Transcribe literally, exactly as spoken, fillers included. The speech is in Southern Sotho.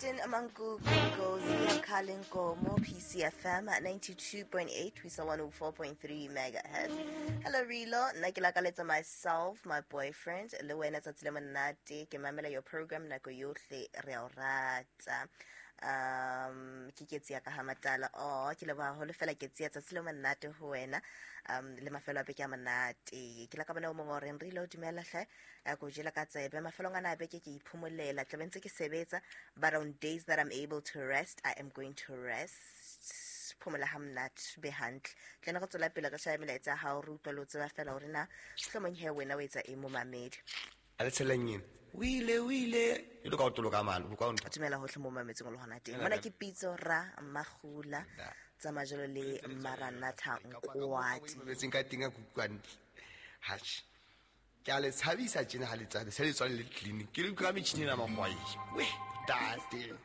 Captain Mankuku Ziyakhala Nkomo, P C F M at ninety-two point eight, we saw one oh four point three megahertz. Hello Rilo, nna ke lakaletsa myself, my boyfriend, le wena tsatsi le monate, ke mamela your program nako yohle, re a o rata. Um, ke ketsi ya ka ha matala. Oh, ke leboha haholo fela ketsi ya tsatsi le monate ho wena. Um, le mafelo a beke a monate. Ke la ka bona o mongwe o reng, Rilo, dumela hle. Eh, ko jela ka tsebe. Mafelong ana a beke ke iphomolela. Tla be ntse ke sebetsa, but on days that I'm able to rest, I am going to rest. Phomola ha monate, be hantle. Tle ne re tswela pele re shebe melaetsa ya hao, re utlwe le ho tseba fela hore na mohlomong he wena o etsa eng mo mamedi. A le tsheleng ena. O ile, o ile. E le ka o toloka mane, o ka o ntho. Dumela hohle mo mametseng o le hona teng. Ena Mona ka ke Pitso Ra Magula, Da. tsa majelo le Maranatha Nkwadi. Mametseng ka teng a kutlwantle. Hatjhe. Ke a le tshabisa tjena ha le tswa, se le tswa le clinic. Ke le utlwa metjhini ena makgwai. Weh, ntate.